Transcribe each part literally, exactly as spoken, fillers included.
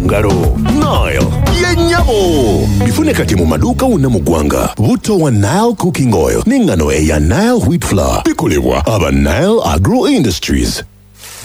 Ngalo. Nile ye nnyabo. Bifune kati mu maduuka wonna mu ggwanga. Butto wa Nile Cooking Oil n'engano eya Nile Wheat Flour bikolebwa aba Nile Agro Industries.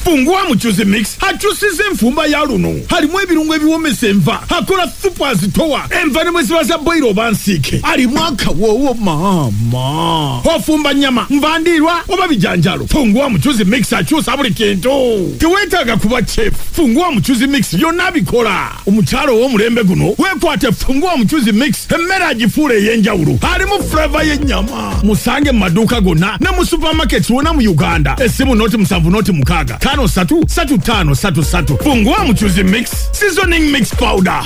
Fungua Muchuzi Mix akyusiza enfumba ya luno. Halimu ebirungo ebiwomesa enva, akola supu azitowa enva ne mweziba za boiro oba nsiike. Alimu akawoowo maama. Ofumba nnyama, nva ndiirwa oba bijanjalo, Fungua Muchuzi Mix akyusa buli kintu. Teweetaaga kuba chef. Fungua Muchuzi Mix byonna bikola. Omukyalo ow'omulembe guno weekwate Fungua Muchuzi Mix, emmere agifuula ey'enjawulo. Alimu flavour y'ennyama. Musange mu maduuka gonna ne mu supermarkets wonna mu Uganda. Essimu noti musanvu noti mukaaga tano satu satu tano satu satu. Fungua Muchuzi Mix seasoning mix powder.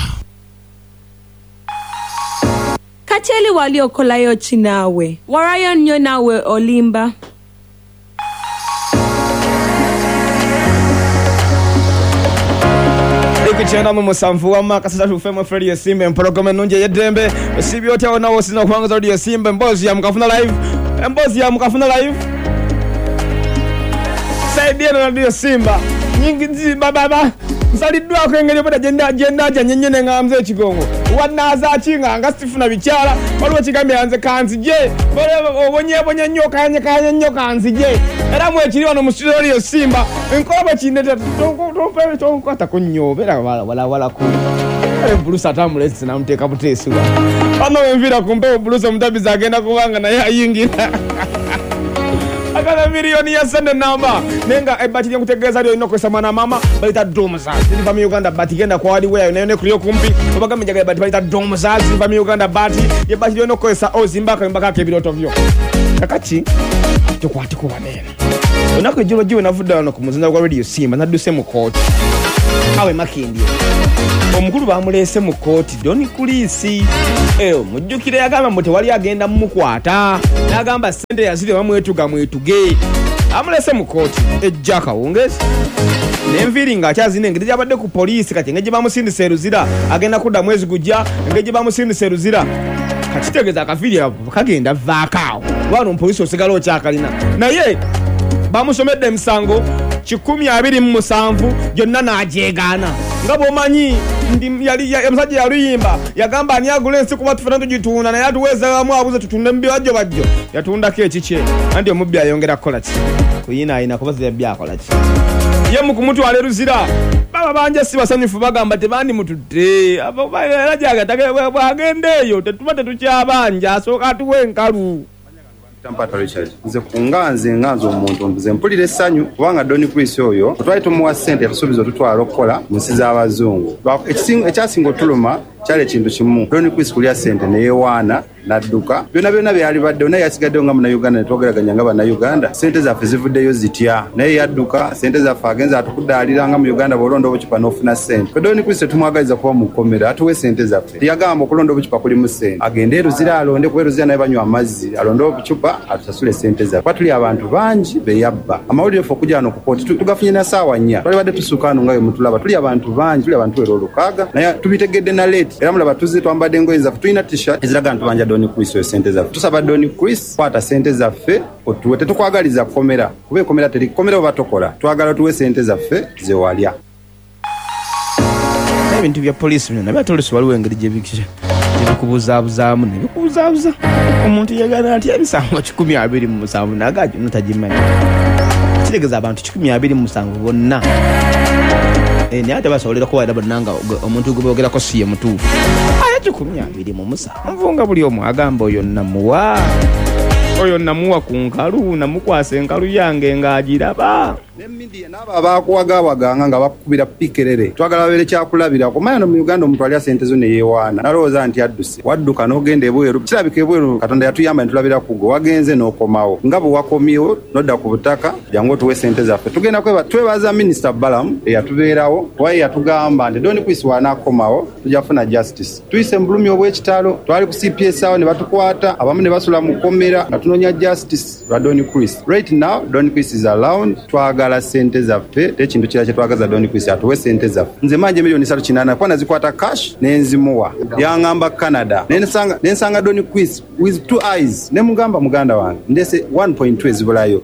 Kacheli wali okolayo ki naawe? Warayo nnyo naawe, olimba. Ikukyenda mu musanvu wamma kasita fm, Radio Simba, empologoma ennungi ey'eddembe. Osiibye otya wonna w'osinza okuwangaza Radio Simba? Emboozi ya Mukafuna Live, emboozi ya Mukafuna Live, side eno Radio Simba nyingi nzi bababa nsaliddwako engeri obwedda gyenda gyendaja nyenye ne ŋŋambye ekigongo wannaaza ki nga nga sifuna bikyala. Waliwo kigambye nze kanzije, obonyeebonye nnyo, okayanyekayanye nnyo, kanzije. Era mwekiri wano mu studio Radio Simba nkola bwe kindeta tonkwatako nnyo, obeera walawalako. Kale Bulusa atambula namuteeka buteesiwa wano wenviira ku mpewo. Bulusa omutabizi agenda kubanga naye ayingira akala miliyoni ya sente namba, naye nga ebbati lyenkutegeeza lyolina okukozesa, mwana maama, balita Domza, ziriva mu Uganda. Bati genda kwa hardware nayo nekuli okumpi, obagambe njagala ebbati balita Domza, ziriva mu Uganda. Bati yebbati lyolina okukozesa ozimba akayumba kako ebirooto byo. Kakati tukwateko waneeno. Olunaku ejjulo giwe navudde wano ku muzinda gwa Radio Simba, nadduse mu kooti awe Makindye. Omukulu bamuleese mu kooti, Don Chris. Eyo mujjukire yagamba mbu tewali agenda mumukwata, n'agamba sente yazire bamwetuga mwetuge. Amuleese mu kooti ejja akawungeezi n'enviiri ng'akyazina engeri gyabadde ku poliisi. Kati engeri gye bamusindisa e Luzira, agenda kudda mwezi gujja. Engeri gye bamusindisa e Luzira, kakitegeeza akaviiri kagenda vaako awo wano omupoliisi osigala okyakalina. Naye bamusomedde emisango kikumi abiri mu musanvu gyonna n'agyegaana. Nga bw'omanyi ndi yali ya- omusajja yaluyimba yagamba ani agula ensi kuba tufena tugitunda, naye atuweezamu abuze tutunde mu bibajjo bajjo. Yatundako ekikye anti omubbi ayongera kukola ki? Kuyinaayina kuba zeyabbi akola ki ye mu kumutwala e Luzira. Baba banja si basanyufu, bagamba tebandimutudde. Era gyagata bwagenda eyo tetuba tetukyabanja, asooka atuwa enkalu. Tampata Richard. Nze kunga nze nga nze omuntu nze mpulira essanyu kubanga Don Chris oyo twali tumuwa ssente, yatusuubiza otutwala okukola mu nsi z'abazungu. Lwa- ekisinga- ekyasinga otuluma kyali ekintu kimu, Don Chris kulya ssente neyewaana n'adduka. Byonna byonna byali baddewo, naye yasigaddewo nga Munnayuganda ne twogeraganya nga Bannayuganda, ssente zaffe zivuddeyo zitya? Naye yadduka ssente zaffe, agenza atukudaalira nga mu Uganda bw'olonda obucupa n'ofuna ssente. Fe Don Chris tetumwagaliza kuba mu kkomera, atuwe ssente zaffe. Yagamba okulonda obucupa kulimu ssente, agende e Luzira alonde, kuba e Luzira naye banywa amazzi, alonde obucupa atusasule ssente zaffe, kuba tuli abantu bangi beyabba. Amawulire ffe okujja wano ku kooti tu- tugafunye na ssaawa nnya, twalibadde tusuuka wano nga bwe mutulaba. Tuli abantu bangi, tuli abantu era olukaaga, naye tubitegedde na late. Era mulaba tuzze twambadde engoye zaffe, tulina T-shirt eziraga nti tubanja Don Chris oyo ssente zaffe. Tusaba Don Chris, kwata ssente zaffe otuwe. Tetukwagaliza kkomera, kuba ekomera teri kkomera oba tokola. Twagala otuwe ssente zaffe zewalya. Ebintu bya poliisi bino nabyo ate oluusi waliwo engeri gye biki- gye bikubuzaabuzaamu ne bikubuzaabuza. Omuntu yegana atya emisango kikumi abiri mu musanvu naga gyonna tagimanyi? Kitegeeza abantu kikumi abiri mu musanvu bonna. Eh, naye ate basobolera kuwaira bonna nga omuntu gwe boogerako si ye mutuufu. Aye kikumi abiri mu musanvu nga buli omu agamba oyo namuwa, oyo namuwa ku nkalu, namukwasa enkalu yange ng'agiraba. Ne media n'abo abakuwagawaganga nga bakukubira pikerere, twagala babeere kyakulabirako. Manya no mu Uganda omuntu alya sente zo neyewaana nalowooza nti adduse. Wadduka n'ogenda ebweru, kirabika ebweru Katonda yatuyamba ne tulabira kugo wagenze n'okomawo. Nga bwe wakomyewo n'odda ku butaka, jangu otuwe sente zaffe. Tugenda kweba twebaza Minisita Balamu eyatubeerawo, kuba ye yatugamba nti Don Chris w'anaakomawo tujja kufuna justice. Tuyise mu bulumi obw'ekitalo, twali ku C P S awo ne batukwata, abamu ne basula mu kkomera nga tunoonya justice lwa Don Chris. Right now Don Chris is around. Twagala sente zaffe, tekintu kirala kyetwagaza. Don Chris atuwe sente zaffe. Nze manje miliyoni satu kinaana kuba nazikwata cash nenzimuwa, yaŋŋamba Canada. Nensanga nensanga Don Chris with two eyes, ne mugamba muganda wange ndese one point two ezibulayo.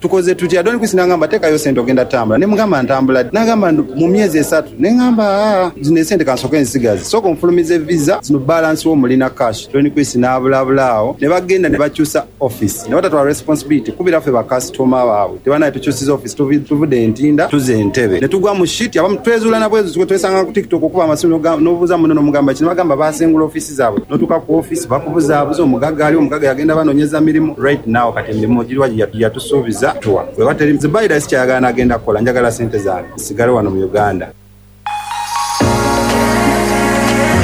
Tukoze tutya? Don Chris nangamba teekayo sente ogenda tambula. Ne mugamba ntambula. Nagamba mu myezi esatu. Ne ngamba zino sente kansoke nsigaze. Sooka onfulumize visa zino balance wo mulina cash. Don Chris n'abulabula awo. Ne bagenda ne bakyusa office. Ne batatwala responsibility kubira ffe ba customer baabwe. Tebanaye tukyusiza office tuvudde Entinda tuze Entebbe. Ne tugwa mu shit abamu twezuula na bwezu twesanga ku TikTok okuba amasimu n'obuuza muno n'omugamba kino bagamba basengula office zaabwe. N'otuuka ku office bakubuzaabuza omugagga ali omugagga yagenda banoonyeza mirimu right now kati emirimu giriwa yatusuubiza tuwa. Bwe bateri Zubaida sikyayagala n'agenda kukola njagala sente zange nsigale wano mu Uganda.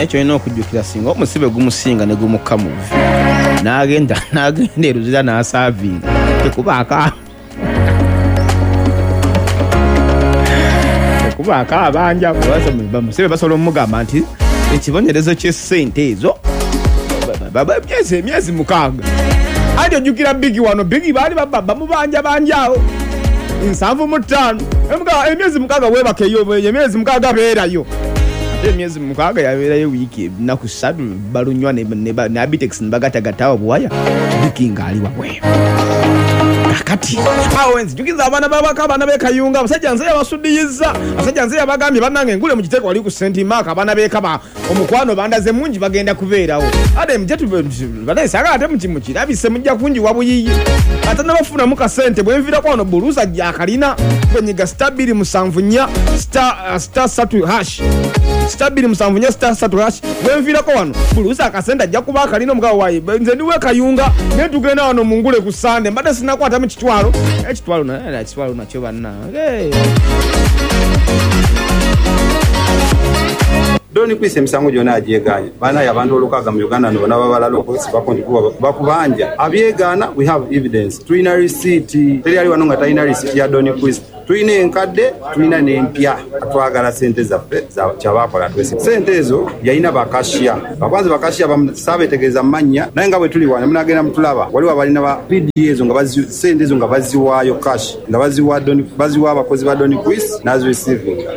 Ekyo olina okujjukira singa omusibe gumusinga ne gumukka mu vvi n'agenda n'agenda e Luzira n'asaavinga tekubaako tekubaako abanja bamusibe basobola omugamba nti ekibonerezo ky'essente ezo emyezi emyezi mukaaga. Anti ojjukira Bigi wano Bigi baali bamubanja banja awo nsanvu mu ttaano emyezi mukaaga weebakeyo emyezi mukaaga beerayo emyezi mukaaga yabeerayo wiiki ennaku ssatu balunywa ne Abitex ne bagatagatawo buwaya Bigi ng'ali wabweru. Kakati awo nzijukiza abaana babaka abaana b'e Kayunga abasajja nze yabasudiyizza abasajja nze yabagambye bannange engule mu giteeko wali ku Saint Mark abaana b'ekaba omukwano bandaze mungi bagenda kubeerawo ate mujje banaye ate mukirabise mujja kunjiwa buyiyi ate nabafunamu kasente bwe nviirako wano buluusa akalina bwenyiga star bbiri musanvu nnya star star ssatu hash star bbiri musanvu nnya star ssatu hash bwe nviirako wano buluusa akasente ajja kuba akalina omugabo wayi nze ndiwe Kayunga naye tugenda wano mu ngule ku Sande mbadde sinakwatamu kitwalo ekitwalo na ekitwalo nakyo bannange. Don Chris emisango gyonna agyegaanye banaye abantu olukaaga mu Uganda no bonna babalala okwesibako nti bakubanja abyegaana. We have evidence, tulina receipt. Teri ali wano nga talina receipt ya Don Chris. Tulina enkadde tulina n'empya. Twagala sente zaffe kyabakola twese. Sente ezo yalina bakashiya bakwanza bakashiya saabetegereza mannya naye nga bwe tuli wano munagenda mutulaba waliwo abalina ba P D ezo nga sente ezo nga baziwaayo cash nga baziwa Don baziwa abakozi ba Don Chris n'azireceiving.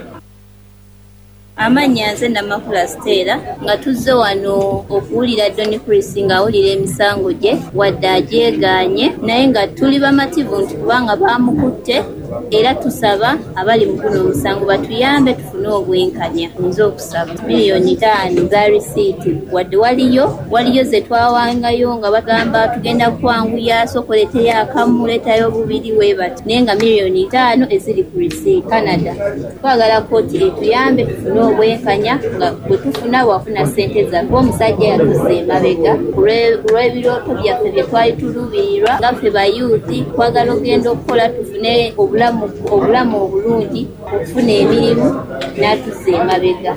Amannya nze Namakula Stella nga tuzze wano okuwulira Don Chris ng'awulira emisango gye wadde agyegaanye naye nga tuli bamativu nti kubanga baamukutte era tusaba abali mu guno omusango batuyambe tufune obwenkanya. Nze okusaba miliyoni ttaano za risiiti wadde waliyo waliyo ze twawangayo nga bagamba tugenda kwanguya sooka akamu leetayo bubiri weebati naye nga miliyoni ttaano eziri ku risiiti. Canada twagala kkooti etuyambe tufune obwenkanya nga bwe tufuna wafuna ssente zaffe. Omusajja yatuzza emabega ku lw'ebirooto byaffe bye twali tuluubirirwa nga ffe bayuuti twagala ogenda okukola tufune obulamu obulamu obulungi okufuna emirimu n'atuzza emabega.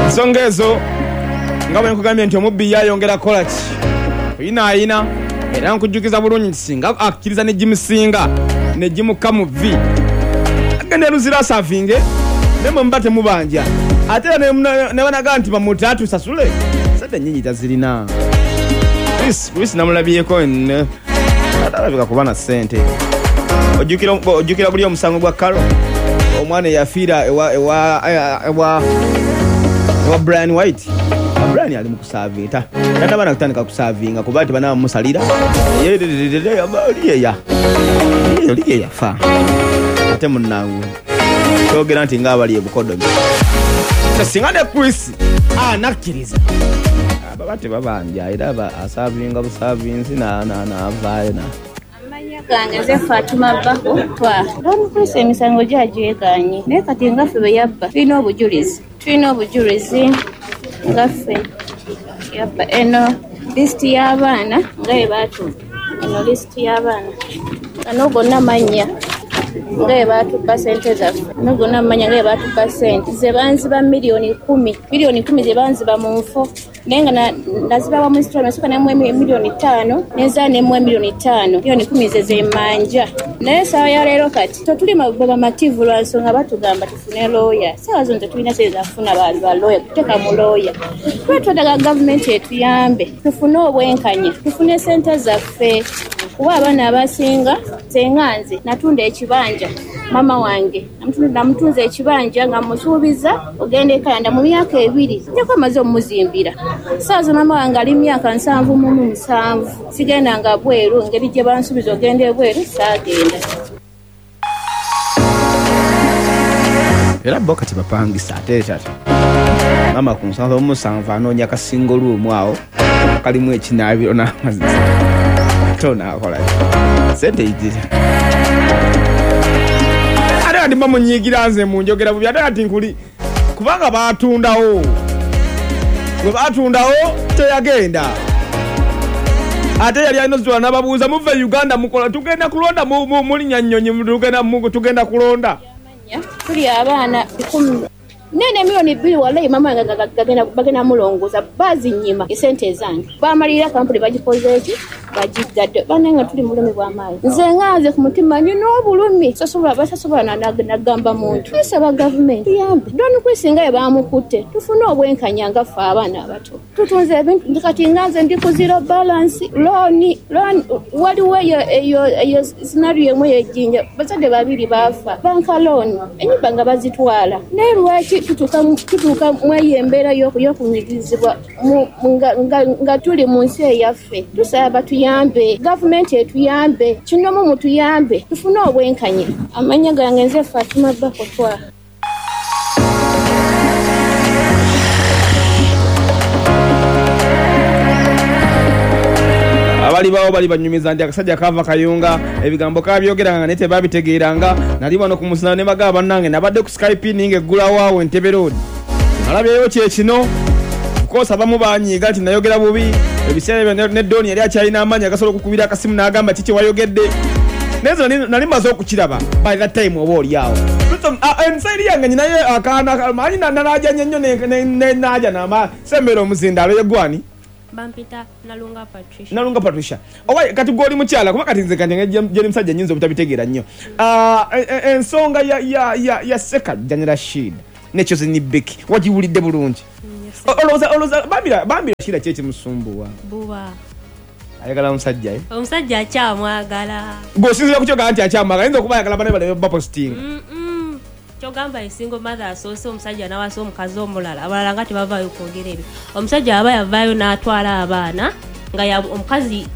Ensonga ezo nga bwe nkugambye nti omubbi yayongera kukola ki oyinaayina era nkujjukiza bulungi nti singa akkiriza ne gimusinga ne gimukka mu vvi agenda Luzira asaavinge ne mwe muba temubanja ate era ne banaga nti bamutte atusasule sente nnyingi tazirina. Chris, Chris namulabyeko atalabika kuba na ssente. Ojjukira ojjukira buli omusango gwa Carol omwana eyafiira ewa ewa ewa ewa Brian White. Brian ali mu kusaavinga tata bana kutandika kusaavinga kuba nti banaamusalira oliyeya oliye yafa ate munnangu kyogera nti ng'abali e Bukodomi. Singa ne Chris anakkiriza baba tebabanja era asaavinga busaavinzi n'avaayo na Amannya gange nze Fatuma Bako twa Don Chris emisango gyagyegaanye naye kati nga ffe bwe yabba tulina obujulizi tulina obujulizi nga ffe yabba eno lisiti y'abaana nga bwe baatubba eno lisiti y'abaana gano gonna mannya nga bwe baatubba ssente zaffe gano gonna mannya nga bwe baatubba ssente ze banziba miliyoni kumi miliyoni kumi ze banziba mu nfo naye nga nazibawa mu installment nasooka nemuwa miliyoni ttaano nenzaa nemuwa miliyoni ttaano miliyoni kumi ze zemmanja naye essaawa ya leero kati tetuli bamativu lwa nsonga batugamba tufune looya ssaawa zino tetulina ssente za kufuna ba looya kuteeka mu looya tuba twetaaga gavumenti etuyambe tufune obwenkanya tufune ssente zaffe kuba abaana abasinga nze nga nze natunda ekibanja Mama wange namutunze ekibanja nga musuubiza ogenda e Canada mu myaka ebiri njako amaze omuzimbira. Saazo mama wange ali myaka nsanvu mu musanvu, sigenda nga bweru engeri gye bansuubiza ogenda ebweru saagenda. Era bo kati bapangisa ate tata mama ku nsanvu mu musanvu anoonya kasingo luumu awo kalimu ekinaabiro n'amazzi tonakola sente ijira. Ate kati bamunyiigira nze munjogera bubi, ate kati nkuli kubanga baatundawo bwe baatundawo teyagenda, ate yali alina ozitwala n'ababuuza muve Uganda mukola tugenda kulonda mulinnya nnyonyi tugenda kulonda. Tuli abaana ikumi nene milioni bbiri wallahi mama wange bagenda mulongoza bazinyima esente zange bamalira kampuni bagikoze eki bagigadde banange tuli mulumi bw'amaanyi. Nze nganze ku mutima nnina obulumi sosobola basasobola nagamba muntu tusaba gavumenti tuyambe Don Chris nga ye bamukutte tufune obwenkanya nga ffe abaana abato tutunze ebintu kati nganze ndi ku zero balance loan loan waliwo eyo eyo scenario emu ey'ejjinja bazadde babiri baafa banka loan ennyumba nga bazitwala naye lwaki tutuuka tutuuka mweyo embeera y'okunyigirizibwa nga tuli mu nsi eyaffe. Tusaba batuyambe, gavumenti etuyambe, kinomu mutuyambe tufune obwenkanya. Amannya gange nze Fatuma Bakotwa. Abali bawo bali banyumiza nti akasajja kava Kayunga ebigambo kabyogeranga naye tebabitegeeranga. Nali wano ku musana ne bagaba bannange nabadde ku Skype ninga eggulawo awo Entebbe Road nalabyeyo kye kino kukosa abamu banyiiga nti nayogera bubi ebiseera ebyo ne Doni yali akyalina amaanyi agasobola okukubira akasimu n'agamba kiki wayogedde naye nali mmaze okukiraba by that time oba oli awo ensairi yange nyinayo akaana manyi nanaajanye nnyo nenaaja nama sembera omuzindaalo yegwani Bampita Nalunga Patricia. Nalunga Patricia. Owa kati goli mukyala kuba kati nze kati ngeri musajja nyinza obutabitegeera nnyo. Ah ensonga ya ya ya ya Ssekajja ne Rashid ne Chosen Becky wagiwulidde bulungi. Olowooza olowooza bambira bambira Shira kye kimusumbuwa. Buba. Ayagala musajja eh. Omusajja akyamwagala. Gwosinzira ku kyogamba nti akyamwagala ayinza okuba ayagala bane bale baposting. Mm. Kyogamba esingo mother asoose omusajja n'awasa omukazi omulala abalala nga tebavaayo kwogera ebyo. Omusajja aba yavaayo n'atwala abaana nga omukazi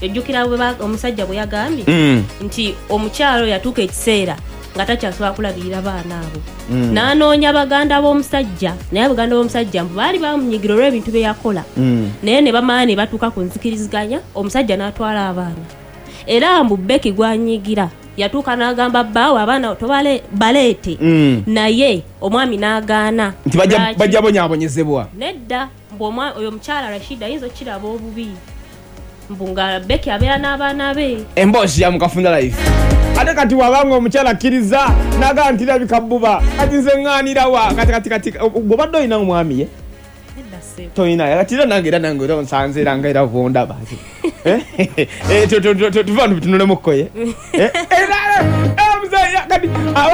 ejjukira omusajja bwe yagambye mm. nti omukyalo yatuuka ekiseera nga takyasobola kulabirira baana abo mm. n'anoonya baganda b'omusajja naye abaganda b'omusajja mbu baali bamunyigira olw'ebintu bye yakola mm. naye ne bamala ne batuuka ku nzikiriziganya omusajja n'atwala abaana era mbu Becky gwanyigira yatuuka n'agamba bbaawe abaana tobale baleete mm. naye omwami n'agaana nti bajja bonyaabonyezebwa nedda mbu oyo omukyala Rashid ayinza okukiraba obubi mbu nga Becky abeera n'abaana be emboozi ya Mukafunda Life. Ate kati wabanga omukyala akkiriza n'agamba nti labika bbuba kati nze ŋŋaanirawa kati kati kati bw'obadde olina omwami ye toyina kati era nange era nange era onsanze era nga era bwondaba tuva tutunulemu ye kati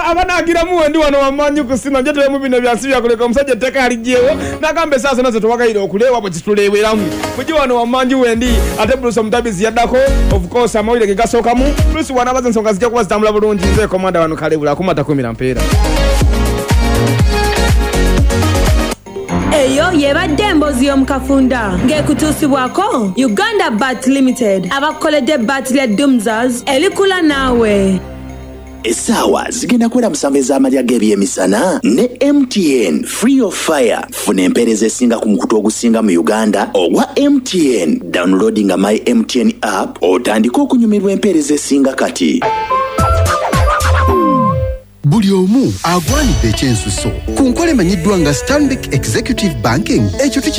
abanaagiramu wendi wano wamanyi kusima nje tulemu bino byansi byakuleka omusajja ettaka yaligyewo n'agamba esaasa nazo tewagayira okuleewa bwe kituleeweramu mugi wano wamanyi wendi ate Bruce Omutabizi yaddako of course amawulire ge gasookamu Bruce wanabaza ensonga zijja kuba zitambula bulungi nze komanda wano Kalebula akumata kumira mpeera. Eyo yebadde emboozi y'omukafunda ng'ekutuusibwako Uganda Bat Limited abakoledde bat lya Dumzas erikula naawe. Essaawa zigenda kwera musanvu ez'amalya g'ebyemisana ne M T N Free of Fire. Funa empeereza esinga ku mukutu ogusinga mu Uganda ogwa M T N. Downloadinga my M T N app otandike okunyumirwa empeereza esinga kati. Buli omu agwanidde ekyensuso ku nkola emanyiddwa nga Stanbic Executive Banking ekyo tuki